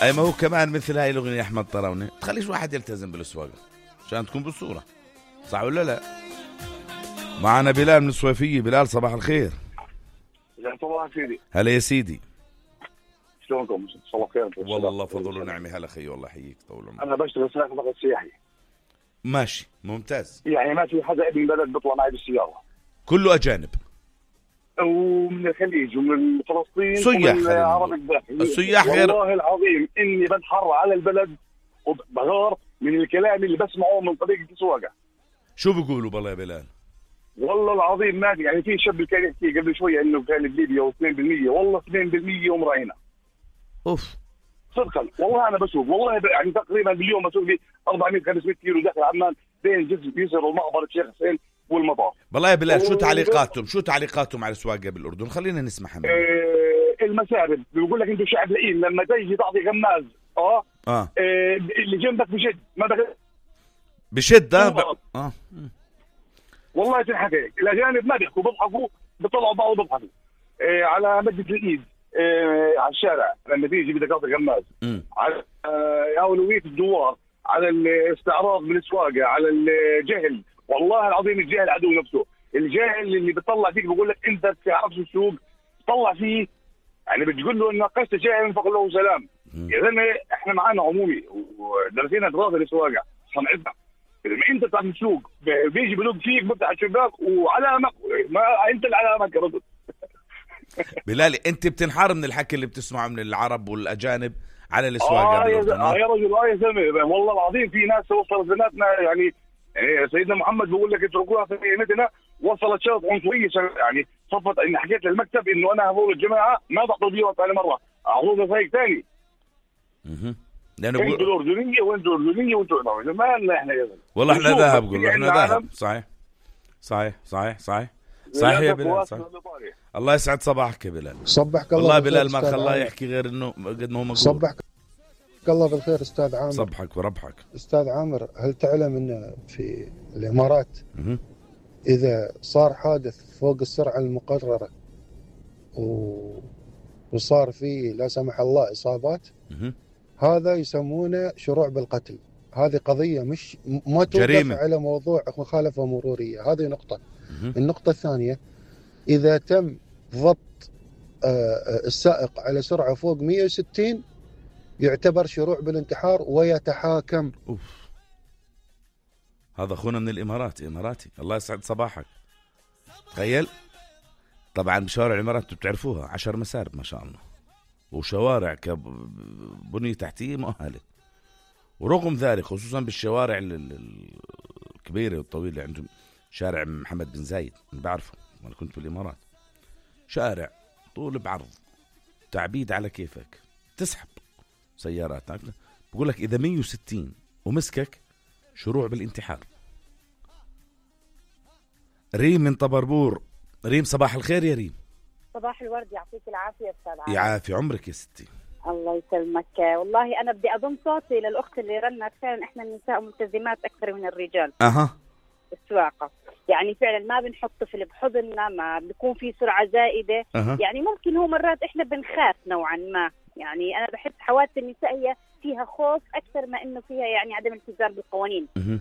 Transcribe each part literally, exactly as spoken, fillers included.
أي ما هو كمان مثل هاي الأغنية أحمد طراونة تخليش واحد يلتزم بالسواقة عشان تكون بالصورة، صح ولا لا؟ معنا بلال من الصويفية. بلال صباح الخير. صباح سيدي. هلا يا سيدي، شلونكم؟ صباح الخير. والله فضل ونعمة. هلا خي، والله حييك طول عمرك. أنا بشتغل سائق نقل سياحي. ماشي ممتاز. يعني ما في حدا ابن بلد بيطلع معي بالسيارة، كله أجانب ومن الخليج ومن فلسطين سياح. ومن عرب الداخل. السياح غير. والله العظيم إني بنحر على البلد وبغار من الكلام اللي بسمعه من طريقة السواقة. شو بيقولوا بالله يا بلال؟ والله العظيم ما يعني في شاب كان يحكي قبل شوية إنه كان بليبيا واثنين بالمية، والله اثنين بالمية ومراهنة. أوف صدقا والله أنا بسوق، والله يعني تقريبا باليوم بسوق لي أربعمية خمسمية كيلو داخل عمان بين جسر يسر ومعبر الشيخ حسين والمطار. والله يا بلال شو تعليقاتهم شو تعليقاتهم على السواقة بالأردن؟ خلينا نسمعها. آه المسارب بيقول لك أنتوا شعب لئيم، لما تيجي تعطي غماز اه, آه. آه اللي جنبك بشد ما بغير بشد ب... اه والله تنحكي. الأجانب ما بيحكوا، بيضحكوا بيطلعوا بعض وبيضحكوا. آه على مدة الإيد، آه على الشارع لما تيجي بدك تعطي غماز، على آه أولوية الدوار، على الاستعراض من السواقة، على الجهل. والله العظيم الجهل عدو نفسه. الجاهل اللي بيطلع فيك بيقول لك انت بتعرفش السوق، طلع فيه يعني بتقول له ان ناقشت جاهل فقل له سلام. يا زلمه احنا معانا عمومي ودرسينا دراسه للسواقه صنعتنا. لما انت بتعرف السوق بيجي بلوق فيك بفتح الشباك وعلامك، ما انت العلامه يا رجل. بلالي انت بتنحار من الحكي اللي بتسمعه من العرب والاجانب على السواقه آه بالاردن. اه يا رجل، اه يا زلمه والله العظيم في ناس وصلت بيناتنا يعني. يعني سيدنا محمد بيقول لك اتركوها في قيمتنا، وصلت شرط عنصريه يعني صفت اني حكيت للمكتب انه انا هذول الجماعه ما بعطوا بيوت ثاني مره، اعطونا فريق ثاني. اها لانه انتوا الاردنيه وانتوا الاردنيه وانتوا ما لنا احنا يا زلمه. والله احنا ذهب، قول احنا ذهب. صحيح صحيح صحيح صحيح صحيح يا بلال. صحيح. الله يسعد صباحك يا بلال. صبحك الله. والله بلال ما خلاه يحكي غير انه قد ما هو مقول. صبحك الله بالخير استاذ عامر. صبحك وربحك استاذ عامر. هل تعلم ان في الامارات مه. اذا صار حادث فوق السرعه المقرره و... وصار فيه لا سمح الله اصابات، مه. هذا يسمونه شروع بالقتل. هذه قضيه مش ما توقف على موضوع مخالفه مروريه. هذه نقطه. مه. النقطه الثانيه، اذا تم ضبط السائق على سرعه فوق مئة وستين يعتبر شروع بالانتحار ويتحاكم. أوف. هذا أخونا من الإمارات، إماراتي. الله يسعد صباحك. تخيل طبعا بشوارع الإمارات بتعرفوها عشر مسارب ما شاء الله، وشوارع كبنية تحتية مؤهلة، ورغم ذلك خصوصا بالشوارع الكبيرة والطويلة عندهم شارع محمد بن زايد أنا بعرفه، أنا كنت بالإمارات، شارع طول بعرض تعبيد على كيفك، تسحب سيارات. بقول لك إذا مية وستين ومسكك شروع بالانتحار. ريم من طبربور. ريم صباح الخير يا ريم. صباح الورد، يعطيك العافية أستاذ عامر. يعافي عمرك يا ستي. الله يسلمك. والله أنا بدي أضم صوتي للأخت اللي رنت. فعلا إحنا النساء ملتزمات أكثر من الرجال أها السواقة، يعني فعلا ما بنحط طفل بحضننا، ما بيكون في سرعة زائدة. أه. يعني ممكن هو مرات إحنا بنخاف نوعا ما، يعني أنا بحس حوادث النساء هي فيها خوف أكثر ما إنه فيها يعني عدم التزام بالقوانين. أه.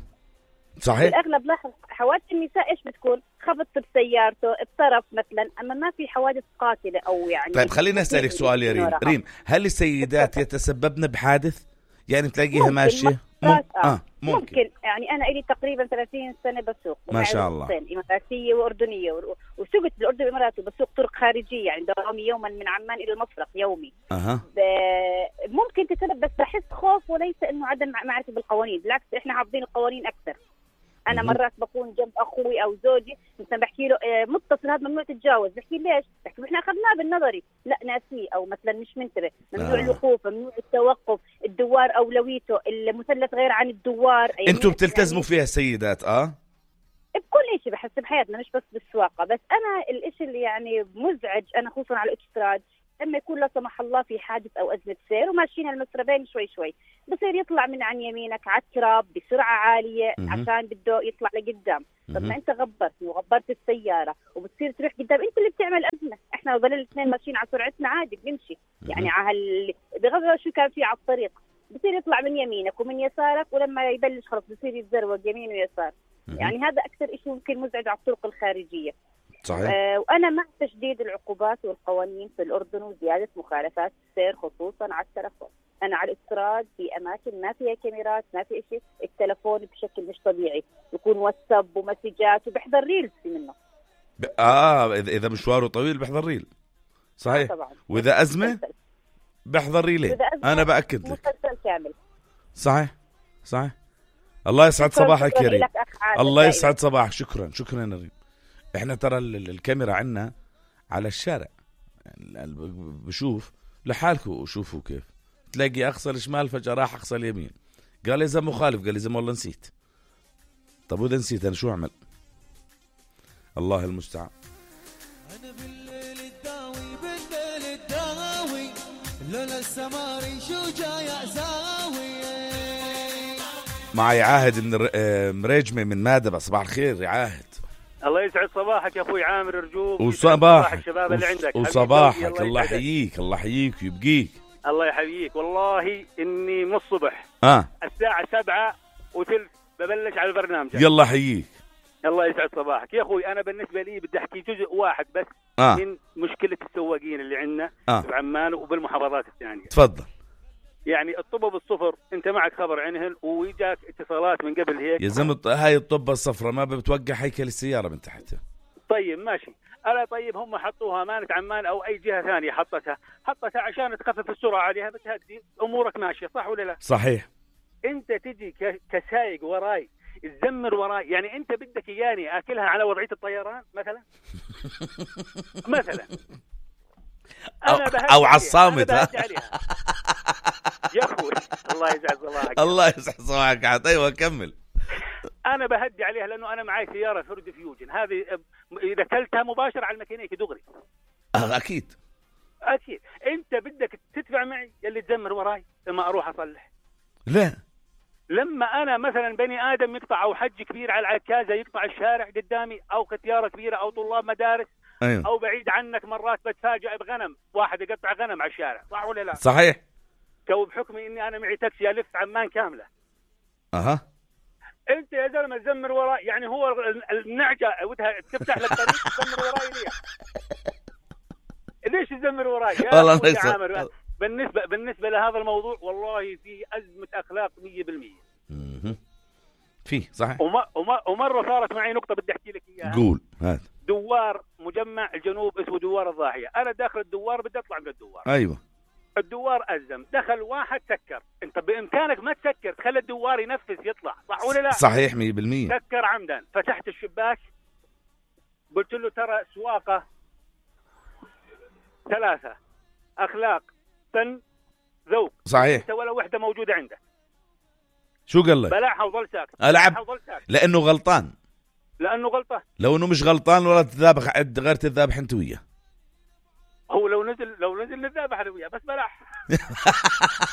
صحيح. بالأغلب لاحظ حوادث النساء إيش بتكون؟ خبط بسيارته بطرف مثلا، أما ما في حوادث قاتلة أو يعني. طيب خلينا أسألك سؤال يا ريم. ريم هل السيدات يتسببن بحادث؟ يعني تلاقيها ماشية مم... آه. ممكن. ممكن يعني أنا إلي تقريبا ثلاثين سنة بسوق ما شاء الله، إماراتية وأردنية، وسوقت بالأردن والإمارات وبسوق طرق خارجية، يعني دوامي يوما من عمان إلى المفرق يومي. أه. ب... ممكن تتسبب، بس بحس خوف وليس إنه عدم معرفة بالقوانين، بالعكس إحنا حافظين القوانين أكثر. أنا مم. مرات بكون جنب أخوي أو زوجي مثلا بحكي له اه متصل هذا ممنوع تتجاوز، بحكي ليش؟ بحكي إحنا أخذناه بالنظري، لا ناسيه أو مثلا مش منتبه، ممنوع آه. الوقوف، ممنوع التوقف، الدوار أولويته، المثلث غير عن الدوار. أنتوا بتلتزموا يعني فيها السيدات؟ آه بكل شيء بحس بحياتنا مش بس بالسواقة. بس أنا الإشي اللي يعني مزعج أنا خصوصا على الأوتوستراد لما يكون لا سمح الله في حادث أو أزمة سير وماشيين المسربين شوي شوي بصير يطلع من عن يمينك على التراب بسرعة عالية م- عشان بده يطلع لقدام. طب م- ما أنت غبرت وغبرت السيارة وبتصير تروح قدام، أنت اللي بتعمل أزمة. إحنا ظلنا الاثنين ماشيين على سرعتنا عادي بنمشي، يعني على بغض شو كان في على الطريق، بصير يطلع من يمينك ومن يسارك، ولما يبلش خلص بصير يتزروق يمين ويسار. يعني هذا أكثر إشي ممكن مزعج على الطرق الخارجية. صحيح. آه وأنا مع تشديد العقوبات والقوانين في الأردن وزيادة مخالفات السير خصوصا على التلفون. أنا على الافتراض في أماكن ما فيها كاميرات ما في إشي، التلفون بشكل مش طبيعي يكون واتساب ومسجات وبحضر ريلز منه. ب... آه إذا مشواره طويل بحضر ريل. صحيح. طبعا. وإذا أزمة بحضر ريلين. أنا بأكد لك. مسلسل كامل. صحيح صحيح. الله يسعد صباحك يا ريم. الله يسعد صباحك. شكرا شكرا يا ريم. احنا ترى الكاميرا عنا على الشارع، يعني بشوف لحالكم وشوفوا كيف تلاقي اقصى الشمال فجأة راح اقصى اليمين، قال لي اذا مخالف، قال لي اذا والله نسيت. طب واذا نسيت انا شو اعمل؟ الله المستعان. انا بالليل الداوي بالليل الداوي لولا السماري شو جاي اساوي. معي عاهد من مريجمه من مادبة. صباح الخير يا عاهد. الله يسعد صباحك يا اخوي عامر، ارجوك وصباحك الشباب اللي عندك وصباحك. الله يحييك الله يحييك ويبقيك. الله يحييك. والله اني من الصبح اه الساعه سبعة وثلث ببلش على البرنامج. يلا حييك. الله يسعد صباحك يا اخوي. انا بالنسبه لي بدي احكي جزء واحد بس آه. من مشكله السواقين اللي عندنا آه. بعمان وبالمحافظات الثانيه. تفضل. يعني الطب الصفر انت معك خبر عنهن ويجاك اتصالات من قبل هيك يا زلمه. هاي الطبه الصفراء ما بتوقع هيكل السياره من تحتها. طيب ماشي. الا طيب هم حطوها امانه عمان او اي جهه ثانيه حطتها حطتها عشان تخفف السرعه عليها، بتهدي امورك ماشيه، صح ولا لا؟ صحيح. انت تجي كسايق وراي تزمر وراي، يعني انت بدك اياني اكلها على وضعيه الطيران مثلا؟ مثلا أو, أو على الصامت. يا أخوي الله يسعد صباحك. الله يسعد صباحك. أيوة كمل. أنا بهدي عليها لأنه أنا معي سيارة فورد فيوجن، هذه إذا كلتها مباشر على الميكانيك دغري. آه أكيد أكيد. أنت بدك تدفع معي يلي تزمر وراي لما أروح أصلح؟ لا. لما أنا مثلا بني آدم يقطع أو حج كبير على العكازة يقطع الشارع قدامي، أو ختيارة كبيرة أو طلاب مدارس، أيوة. أو بعيد عنك مرات بتفاجأ بغنم، واحد يقطع غنم على الشارع، صح ولا لا؟ صحيح. كو بحكمي إني أنا معي تاكسي ألف عمان كاملة. أها. أنت يا زلمة تزمر وراي، يعني هو النعجة ودها تفتح لك طريق تزمر وراي ليه؟ ليش تزمر وراي؟ يا أخوي عامر، بالنسبة بالنسبة لهذا الموضوع والله فيه أزمة أخلاق مية بالمية. فيه صحيح. وما وما ومرة صارت معي نقطة بدي أحكي لك إياها. قول. هات. دوار مجمع الجنوب اسمه دوار الضاحية، أنا داخل الدوار بدي أطلع من الدوار. أيوة. الدوار أزم، دخل واحد سكر، أنت بإمكانك ما تسكر، تخلي الدوار ينفذ يطلع، صح ولا لا؟ صحيح مية بالمية. سكر عمدا، فتحت الشباك قلت له ترى سواقة ثلاثة أخلاق فن ذوق. صحيح. أنت ولا وحدة موجودة عندك. شو قال لك؟ بلعها وظل ساكت. ألعب لأنه غلطان. لأنه غلطان. لو إنه مش غلطان ولا تذابح عد غير تذابح أنت وياه. هو لو نزل لو نزل نذابح أنا وياه بس بلح.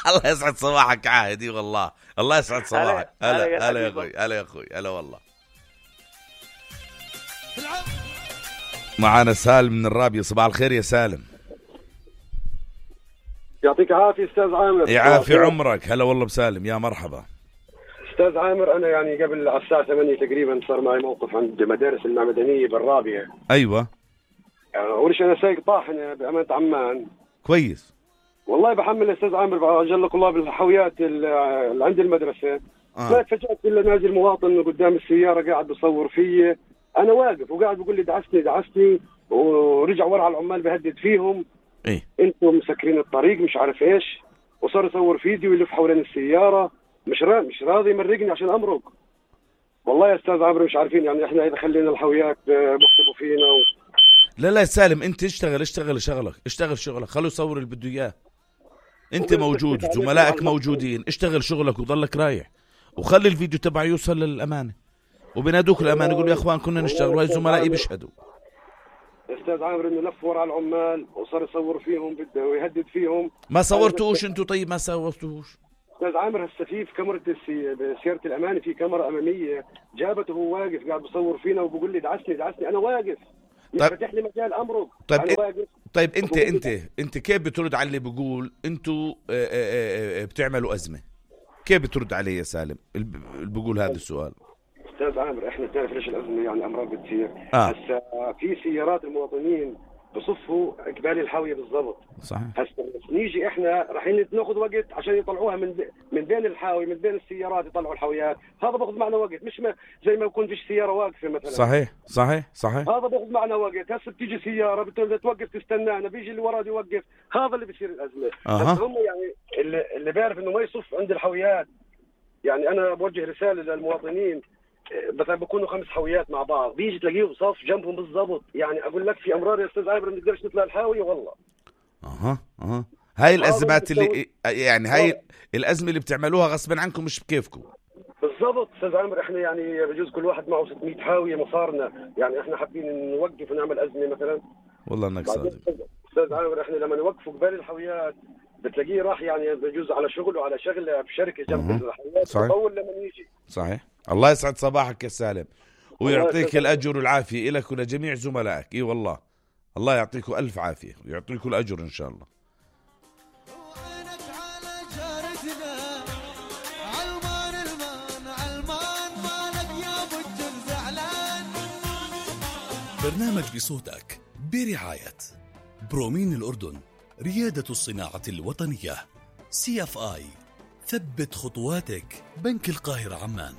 الله يسعد صباحك عاهدي والله. الله يسعد صباحك. هلا هلا يا أخوي. هلا يا أخوي. هلا والله. معانا سالم من الرابية. صباح الخير يا سالم. يعطيك عافية أستاذ عامر. يعافي عمرك. هلا والله بسالم. يا مرحبا أستاذ عامر. أنا يعني قبل على الساعة ثمانية تقريبا صار معي موقف عند مدارس المعمدانية بالرابية. أيوة. يعني أول شيء أنا سايق طاحنة بأمانة عمان. كويس. والله بحمل أستاذ عامر أجلك الله بالحويات اللي عند المدرسة. آه. ما تفاجأت إلا نازل مواطن قدام السيارة قاعد بصور فيي، أنا واقف وقاعد بقول لي دعستني دعستني، ورجع ورا على العمال بهدد فيهم. إيه؟ أنتم مسكرين الطريق مش عارف إيش، وصار يصور فيديو ويلف حوالين السيارة، مش راضي مش راضي يمرقني عشان أمرق. والله يا أستاذ عامر مش عارفين يعني إحنا إذا خلينا الحويات بكتبوا فينا و... لا لا سالم انت اشتغل اشتغل شغلك اشتغل شغلك خلوا يصور اللي بده اياه. انت موجود زملائك موجودين، اشتغل شغلك وضلك رايح وخلي الفيديو تبعه يوصل للامانه وبنادوك الامانه يقولوا يا اخوان كنا نشتغل وهي زملائي بيشهدوا. استاذ عامر انه لف ورا العمال وصار يصور فيهم بده ويهدد فيهم. ما صورتوش انتوا؟ طيب ما صورتوش استاذ عامر. هسه في كاميرا سياره الامانه في كاميرا اماميه جابته وهو واقف قاعد بصور فينا وبقول لي دعسني دعسني انا واقف. طيب فتح لي مجال امرك. طيب أنا واقف. طيب انت انت انت كيف بترد على اللي بيقول انتوا بتعملوا ازمه؟ كيف بترد عليه يا سالم اللي بيقول هذا السؤال؟ استاذ عامر احنا بتعرف ليش الازمه يعني امراض بتصير. آه. هسه في سيارات المواطنين بصفوا قبال الحاويه بالضبط. صحيح. هسه نيجي احنا رايحين ناخذ وقت عشان يطلعوها من من بين الحاوي من بين السيارات يطلعوا الحاويات، هذا باخذ معنا وقت، مش ما زي ما يكون فيش سياره واقفه مثلا. صحيح صحيح صحيح. هذا باخذ معنا وقت. هسه بتيجي سياره بدها توقف تستنانا، بيجي اللي وراه يوقف، هذا اللي بيصير الازمه. أه. هسه هم يعني اللي, اللي بيعرف انه ما يصف عند الحاويات، يعني انا بوجه رساله للمواطنين، مثلا بيكونوا خمس حاويات مع بعض، بيجي تلاقيه صف جنبهم بالضبط، يعني اقول لك في امرار يا استاذ عابر ما نقدرش نطلع الحاويه والله. اها اها هاي الازمات اللي يعني هاي الازمه اللي بتعملوها غصبا عنكم مش بكيفكم. بالضبط استاذ عامر، احنا يعني بجوز كل واحد معه ستمية حاويه مصارنا، يعني احنا حابين نوقف ونعمل ازمه مثلا. والله انك صادق استاذ عامر، احنا لما نوقفوا قبال الحاويات بتلاقيه راح يعني بجوز على شغل وعلى شغله بشركه جنب الحاويات اول لما يجي. صحيح. الله يسعد صباحك يا سالم ويعطيك الاجر والعافيه لك ولجميع زملائك. اي والله الله يعطيكم الف عافيه ويعطيكم الاجر ان شاء الله. برنامج بصوتك برعاية برومين الأردن، ريادة الصناعة الوطنية، سي اف آي، ثبت خطواتك، بنك القاهرة عمان،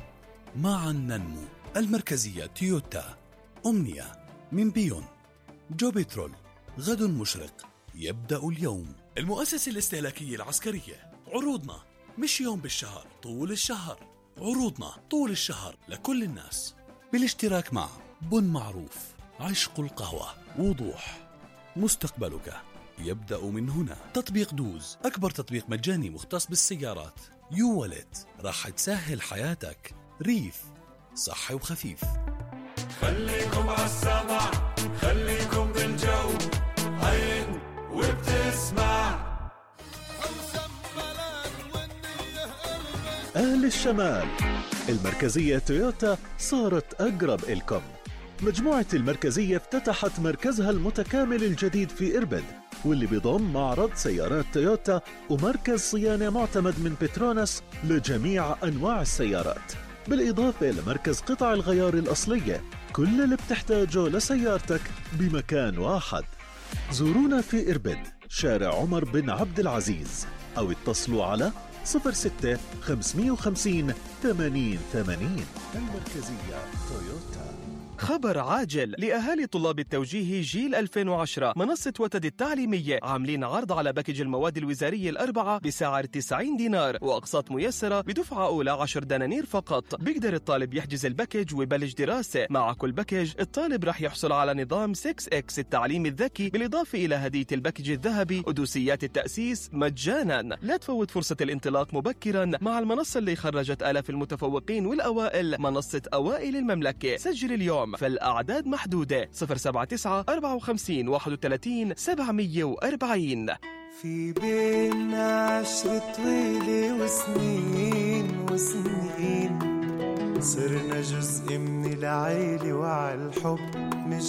معا ننمو، المركزية تويوتا، أمنية، من بيون، جو بترول، غد مشرق، يبدأ اليوم، المؤسسة الاستهلاكية العسكرية. عروضنا مش يوم بالشهر، طول الشهر. عروضنا طول الشهر لكل الناس، بالاشتراك مع بن معروف، عشق القهوة، وضوح، مستقبلك يبدأ من هنا. تطبيق دوز، أكبر تطبيق مجاني مختص بالسيارات. يو ولت، راح تسهل حياتك. ريف، صحي وخفيف. خليكم عالسمع، خليكم بالجو، عين وبتسمع. أهل الشمال، المركزية تويوتا صارت أقرب إلكم. مجموعة المركزية افتتحت مركزها المتكامل الجديد في إربد، واللي بيضم معرض سيارات تويوتا ومركز صيانة معتمد من بتروناس لجميع أنواع السيارات، بالإضافة لمركز قطع الغيار الأصلية. كل اللي بتحتاجه لسيارتك بمكان واحد. زورونا في إربد، شارع عمر بن عبد العزيز، أو اتصلوا على صفر ستة خمسمية وخمسين ثمانين ثمانين. المركزية تويوتا. خبر عاجل لأهالي طلاب التوجيه جيل ألفين وعشرة. منصة وتد التعليمية عاملين عرض على باكج المواد الوزارية الأربعة بسعر تسعين دينار وأقساط ميسرة بدفعة أولى عشر دنانير فقط. بيقدر الطالب يحجز الباكج ويبلش دراسة. مع كل باكج الطالب رح يحصل على نظام ستة إكس التعليم الذكي، بالإضافة إلى هدية الباكج الذهبي ودوسيات التأسيس مجانا. لا تفوت فرصة الانطلاق مبكرا مع المنصة اللي خرجت آلاف المتفوقين والأوائل، منصة أوائل المملكة. سجل اليوم فالأعداد محدودة. صفر سبعة تسعة أربعة وخمسين واحد وثلاثين سبعمية وأربعين. في بينا عشرة طويلة وسنين وسنين، صرنا جزء من العيلة وعالحب مش